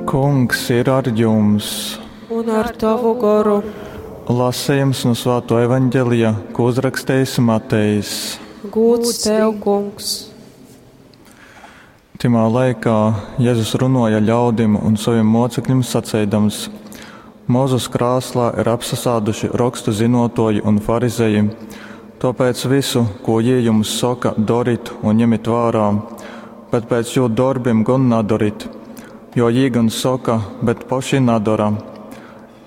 Kungs ir ar jums! Un ar tovu goru. Lasījums no Svāto evaņģelija, ko uzrakstījis Matejs. Gūds tev, kungs! Timā laikā Jēzus runoja ļaudim un saviem mocekļiem saceidams: Mozus krāslā ir apsasāduši rakstu zinotoji un farizeji, tāpēc visu, ko jī jums soka, dorit un ņemit vērā, bet pēc jū darbiem gon nadorit, jo jī gan soka, bet poši nadora.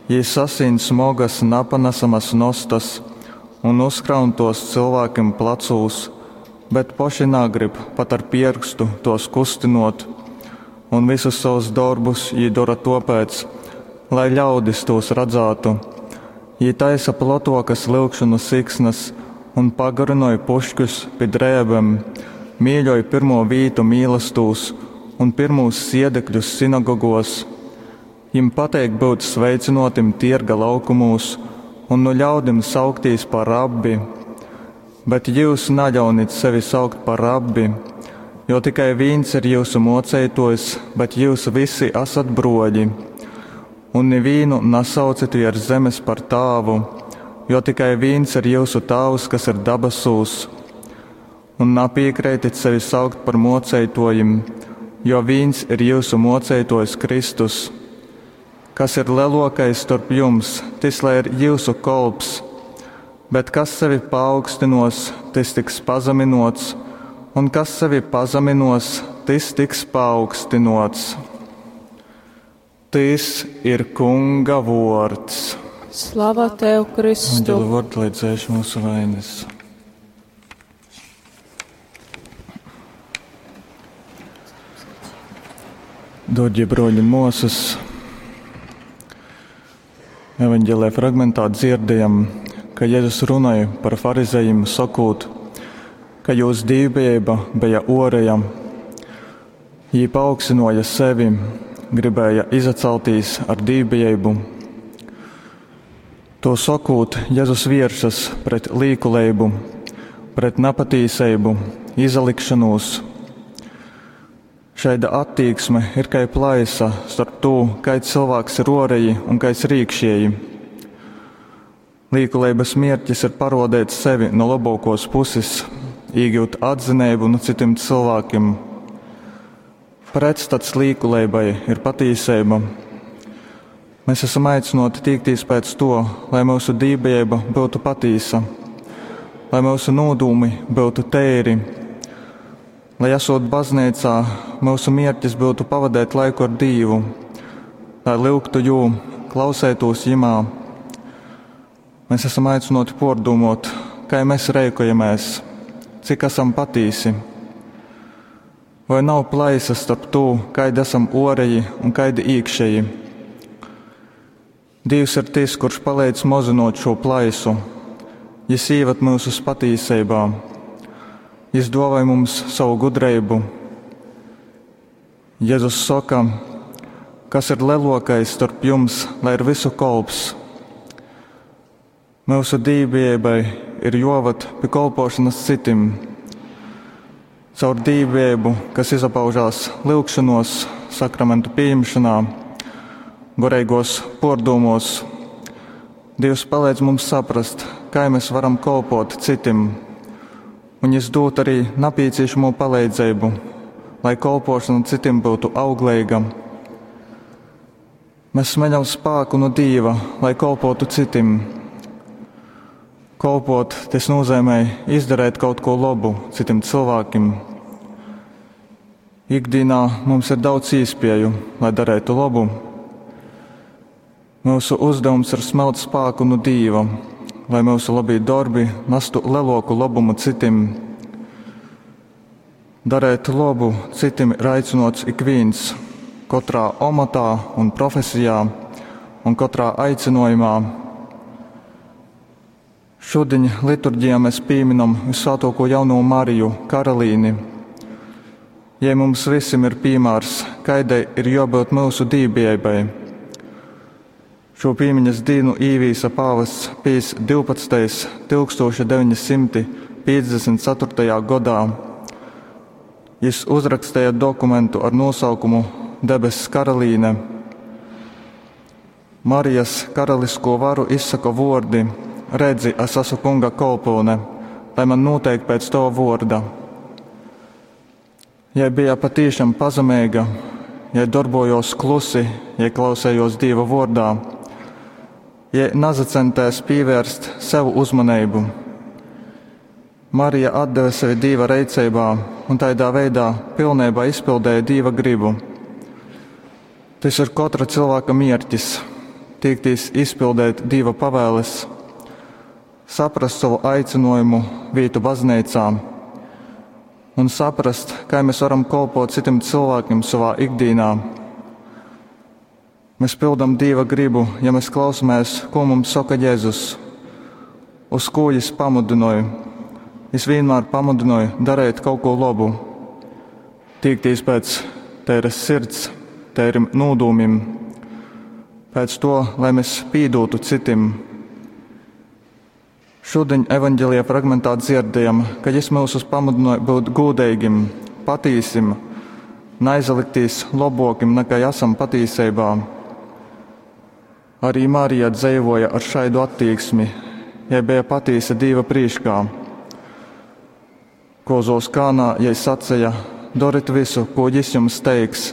Jī sasīn smogas, napanesamas nostas un uzkraun tos cilvēkiem placūs, bet poši nagrib pat ar pierkstu tos kustinot, un visus savus darbus jī dora topēc, lai ļaudis tos radzātu. Jī taisa plotokas lyugšonu siksnas un pagarinoj pušķus pi drēbem, mīļoj pirmo vītu mīlastūs un pirmūs siedekļus sinagogos. Jim pateik būt sveicinotim tierga laukumūs un nu ļaudim sauktīs par rabbi. Bet jūs naļaunit sevi saukt par rabbi, jo tikai viens ir jūsu moceitojs, bet jūs visi esat broļi. Un nevienu nesaucit virs zemes par tāvu, jo tikai viens ir jūsu tāvs, kas ir dabasūs. Un napiekrītit sevi saukt par moceitojim, jo viens ir jūsu moceitojs Kristus. Kas ir lielākais starp jums, tas lai ir jūsu kolps, bet kas sevi paaugstinos, tas tiks pazeminots, un kas sevi pazeminos, tas tiks paaugstinots. Tis ir Kunga vārds. Slava tev, Kristu! Evanģēlija vārds, lai dzēš mūsu vainas. Dārgie broļi un māsas, evanģēlē fragmentā dzirdējam, ka Jēzus runāja par farizejiem, sakot, ka jūs dīvbijība bija oreja. Jī paaugstināja sevi, gribēja izaceltīs ar dīvbijību. To sakot, Jēzus vēršas pret līkuleibu, pret nepatīsību, izalikšanos. Šaida attieksme ir kā plaisa starp to, kāds cilvēks ir oreji un kāds ir iekšēji. Līkuleibas mērķis ir parodēt sevi no labākos puses, iegūt atzinību no citiem cilvēkiem. Pretstats līkuleibai ir patīsība. Mēs esam aicināti tīkties pēc to, lai mūsu dībība būtu patīsa, lai mūsu nodūmi būtu tēri, lai esot baznīcā, mūsu mērķis būtu pavadīt laiku ar Dievu, lai lūgtu jū, klausētos jimā. Mēs esam aicināti pārdomot, kā mēs rēkojamies, cik esam patīsi. Vai nav plaisas starp to, kaidi esam oreji un kaidi iekšēji? Dievs ir tas, kurš palīdz mozinot šo plaisu. Jis īvad mūsus patīsībā. Jis dāvāja mums savu gudrību. Jēzus saka, kas ir lielākais starp jums, lai ir visu kolps. Mūsu dīvbijībai ir jāvad pie kolpošanas citim. Caur dīvbijību, kas izpaužās lūgšanos, sakramentu pieņemšanā, goreigos pārdomos, Dievs palīdz mums saprast, kā mēs varam kolpot citim, un Jis dod arī nepieciešamo palīdzību, lai kolpošana citim būtu auglīga. Mēs smeļam spēku no Dieva, lai kolpotu citim. Kolpot, tas nozīmē izdarīt kaut ko labu citim cilvēkiem. Ikdienā mums ir daudz iespēju, lai darītu labu. Mūsu uzdevums ir smelt spēku no Dieva, lai mūsu labie darbi nestu lielāku labumu citim. Darēt labu citim ir aicinots ik viens, katrā amatā un profesijā un katrā aicinojumā. Šodien liturģijā mēs pieminam visvētāko jauno Mariju, Karolīni. Ja mums visiem ir piemērs, kādai ir jābūt mūsu dībībai. Šo piemiņas dienu īvīsa pāvests Pijs 12. 1954. gadā. Jis uzrakstīja dokumentu ar nosaukumu Debess Karalīne. Marijas karaliskū varu izsoka vuordi: Redzi, es asu Kunga kolpyune, lai man nūteik pēc tova vuorda. Jei bija patīšam pazemeiga, jei dorbuojuos klusi, jei klausējuos Dīva vuordā, jei nazacentēs pīvērst sev uzmaneibu. Marija atdeve sevi Dīva reiceibā un taidā veidā pilneibā izpildēja Dīva gribu. Tys ir kotra cylvāka mierkis – tīktīs izpildeit Dīva pavēles, saprast sovu aicynuojumu, vītu bazneicā un saprast, kai mēs varam kolpot citim cylvākim sovā ikdīnā. Mēs pildam Dīva gribu, ja mēs klausamies, ko mums soka Jēzus, uz ko Jis pamudinoj. Jis vienmēr pamudinoj darīt kaut ko labu, tīktīs pēc teiras sirds, teirim nūdūmim, pēc to, lai mēs pīdūtu citim. Šodien evaņģēlijā fragmentā dzirdējam, ka Jis mūsus pamudināja būt gūdeigim, patīsim, neaizliktīs labokim nekā esam patīsībā. Arī Marija dzeivoja ar šaidu attieksmi, jai bija patīsa Dīva prīškā. Kozos Kānā jai sacīja: Dorit visu, ko Jis jums teiks.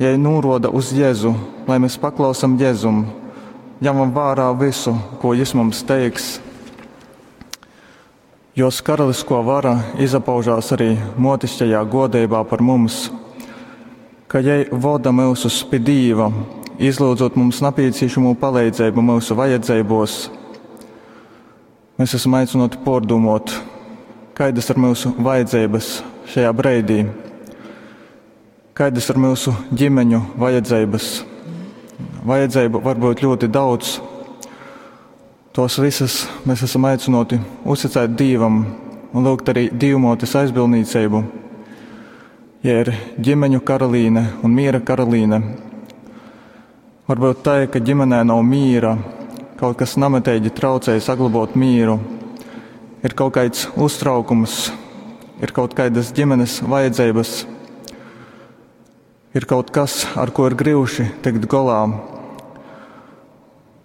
Jai nūroda uz Jēzu, lai mēs paklausam Jēzum, ņemam vērā visu, ko Jis mums teiks. Jos karalisko vara izapaužās arī motišķajā godībā par mums, ka jai voda mūsus pi Dīva, izlūdzot mums napīcīšamo palīdzību mūsu vajadzībos. Mēs esam aicināti pārdomot, kādas ir mūsu vajadzības šajā breidī, kādas ir mūsu ģimeņu vajadzības. Vajadzību var būt ļoti daudz. Tos visas mēs esam aicināti uzticēt Dievam un lūgt arī Dievmōtes aizbildniecību. Ja ir ģimeņu karalīne un miera karalīne, varbūt tā, ka ģimenē nav mīra, kaut kas nametīgi traucēja saglabāt mīru, ir kaut kāds uztraukums, ir kaut kādas ģimenes vajadzības, ir kaut kas, ar ko ir grūti tikt golā.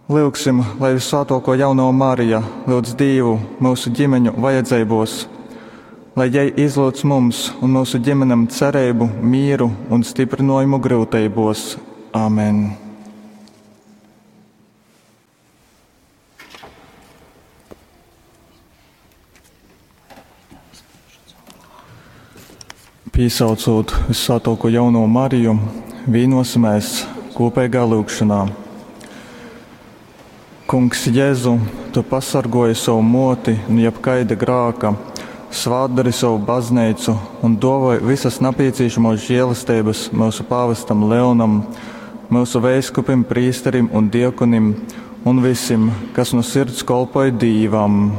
Lūgsim, lai visvētāko jauno Marija lūdz Dievu mūsu ģimeņu vajadzībos, lai jai izlūdz mums un mūsu ģimenēm cerību, mieru un stiprinājumu grūtībos. Āmen! Pīsaucot visvētāko jauno Mariju, vīnosimies kopīgā lūgšanā. Kungs Jēzu, tu pasargoji savu moti no jebkaida grāka, svātdari savu baznīcu un dāvāji visas nepieciešamos žēlastības mūsu pāvestam Leonam, mūsu veiskupim, prīsterim un diekonim un visiem, kas no sirds kolpoja Dīvam.